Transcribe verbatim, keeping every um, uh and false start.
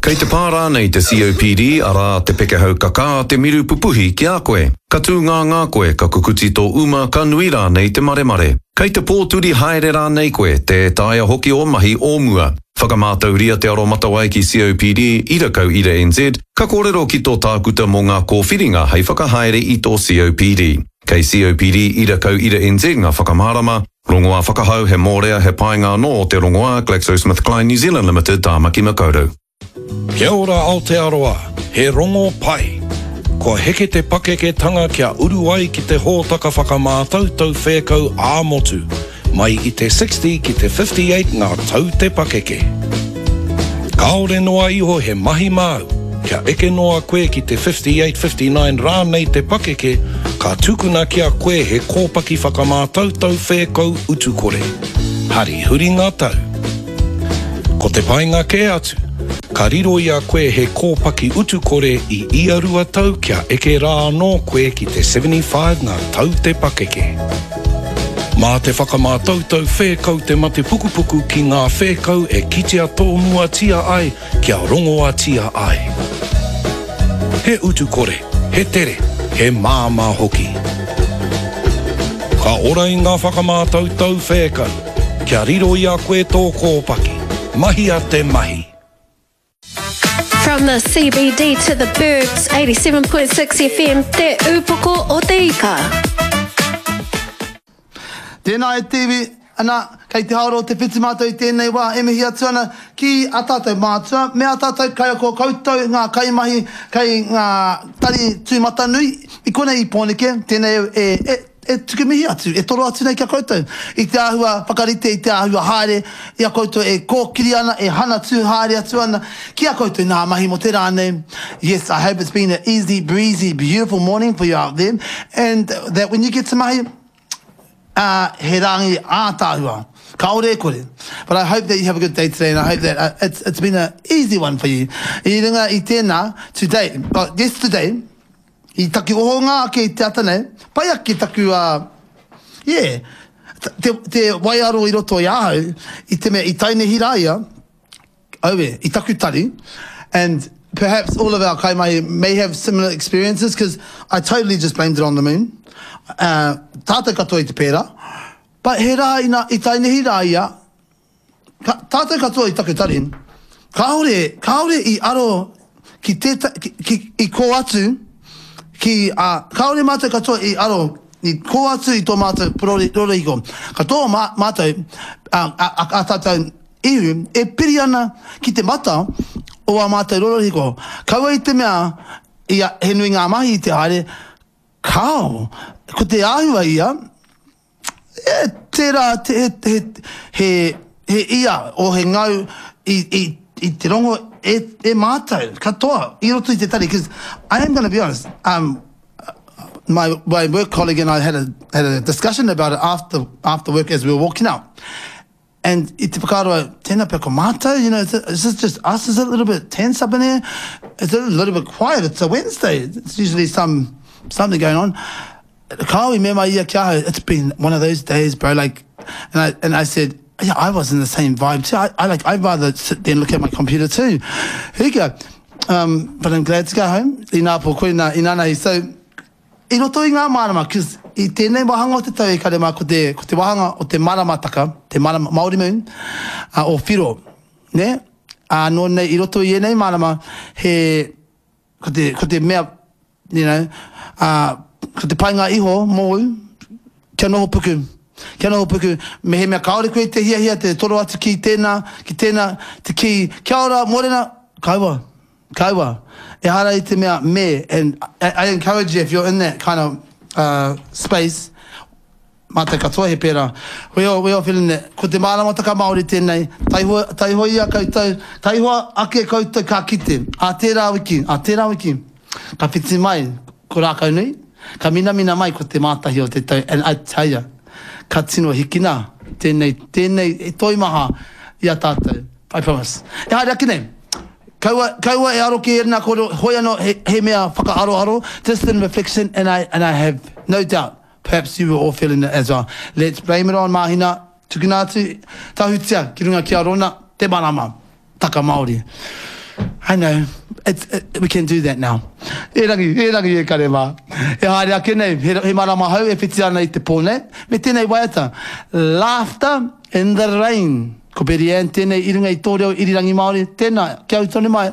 Kei te pā rānei te C O P D, arā te pekehau kakā, te miru pupuhi ki a koe. Ka tū ngā ngā koe, ka kukuti tō uma, ka nui rānei te maremare. Kei te pōturi haere rānei koe, tē taea hoki o mahi o mua. Whakamātauria te aromatawai ki C O P D, ira kau ira N Z, ka kōrero ki tō tākuta mō ngā kōwhiringa hei whakahaere i tō C O P D. Kei C O P D ira kau ira N Z ngā whakamārama, rongoā whakahau he mōrea he painga anō o te rongoā GlaxoSmithKline New Zealand Limited, Tāmaki Makaurau. Kia ora Aotearoa, he rongo pai. Kua heke te pakeketanga kia uru ai ki te hōtaka whakamātautau whēkau ā-motu, mai i te sixty ki te fifty-eight ngā tau te pakeke. Kāore noa iho he mahi māu, kia eke noa koe ki te fifty-eight fifty-nine rānei te pakeke, ka tukuna ki a koe he kōpaki whakamātautau whēkau utukore. Hari huri ngā tau. Ko te painga kē atu, ka riro i a koe he kōpaki utukore i ia rua tau kia eke rā anō koe ki te seventy-five ngā tau te pakeke. Mā te whakamātautau whēkau te mate pukupuku ki ngā whēkau e kitea tōmuatia ai kia rongoatia ai. He utukore, he tere, he māmā hoki. Ka ora i ngā whakamātautau whēkau, kia riro i a koe tō kōpaki. Mahia te mahi. From the C B D to the burbs, eighty-seven point six F M, Te Upoko o Te Ika. Tēnā e te iwi, ana, kei te haora o te whitu mātou i tēnei wā e mihi atu ana ki a tātou mātua, me a tātou kaiako koutou ngā kaimahi kei ngā tari tūmatanui i konei i Pōneke, tēnei e, e, e tuku mihi atu, e toro atu nei ki a koutou. I te āhua whakarite, i te āhua haere, i a koutou e kōkiri ana, e hanatu haere atu ana, ki a koutou nā mahi mo te rā nei. Yes, I hope it's been an easy, breezy, beautiful morning for you out there, and that when you get to mahi, uh, he rangi ātāhua. Kāore e kore. But I hope that you have a good day today and I hope that uh, it's, it's been an easy one for you. I runga i tēnā, today, uh, yesterday, i taku ohonga ake i te ata nei, pai ake taku, uh, yeah, te, te waiaro i roto i ahau, i te mea, i tainehi rā ia, aue, i taku tari, and perhaps all of our kaimahi may have similar experiences, because I totally just blamed it on the moon. Uh, tātou katoa i te pērā. But he rā ina, i tainehi rā ia, ka, tātou katoa i taku tari, kāore, kāore i aro ki tēta, ki, ki, i kō atu, ki, uh, kāore mātou katoa i aro, i kō atu i tō mātou rori, rorihiko. Katoa mā, mātou, uh, a, a, a tātou ihu, e piri ana ki te mata o a mātou rorihiko. Kaua i te mea, i a, he nui ngā mahi i te haere, kao, ko te āhua ia, e, tērā te, he, he, he, he ia o he ngau i, i, i te rongo e, e mātou, katoa, i roto i te tari. Because I am going to be honest, um, my, my work colleague and I had a, had a discussion about it after, after work as we were walking out. And i te whakaaro, tēnā pea ko mātou, you know, is, it, is this just us? Is it a little bit tense up in here? Is it a little bit quiet? It's a Wednesday. It's usually some something going on. Kao i mea mai ia ki ahau, "It's been one of those days, bro." Like, and I, and I said, "Yeah, I was in the same vibe too. I, I like, I'd rather sit there and look at my computer too." Here you go. Um, but I'm glad to go home. Inā po koe nā, inā. So, i roto i ngā marama, cause i tēnei wāhanga o te tau e kare mā, ko te, ko te wāhanga o te maramataka, te marama, Māori moon, uh, o Whiro, ne? Uh, nō nei, i roto i ēnei marama, he, ko te, ko te mea, you know, uh, ko te painga iho mōu, kia noho puku. Kia noho puku, me he mea kāore koe te hiahia te toro atu ki tēnā, ki tēnā, te ki, kia ora, mōrena, kaua, kaua. Ehara i te mea me, and I, I encourage you if you're in that kind of uh, space, mātou katoa he pērā. We all, we all feeling that. Ko te māramataka Māori tēnei, taihoa, taihoa ia koutou, taihoa ake koutou ka kite. A tērā wiki, a tērā wiki, ka whiti mai ko rākau nui, ka minamina mai ko te mātahi o te tau, and I tell ya, ka tino hikina tēnei, tēnei e toimaha i a tātou. I promise. E haere ake nei. Kaua, kaua e aro ki ērnā kōrero, hoi anō he, he mea whakaaroaro, just in reflection, and I, and I have no doubt, perhaps you were all feeling it as well. Let's blame it on Mahina, tukuna atu, tahutia ki runga ki a Rona, te marama, taka Māori. I know, it's, it, we can do that now. Erangi, erangi e kare mā. E haere ake nei, he, he marama hou e whiti ana i te pō nei, me tēnei waiata, Laughter in the Rain. Ko Betty Ann tēnei i runga i tō reo irirangi Māori, tēnā, kia ū tonu mai.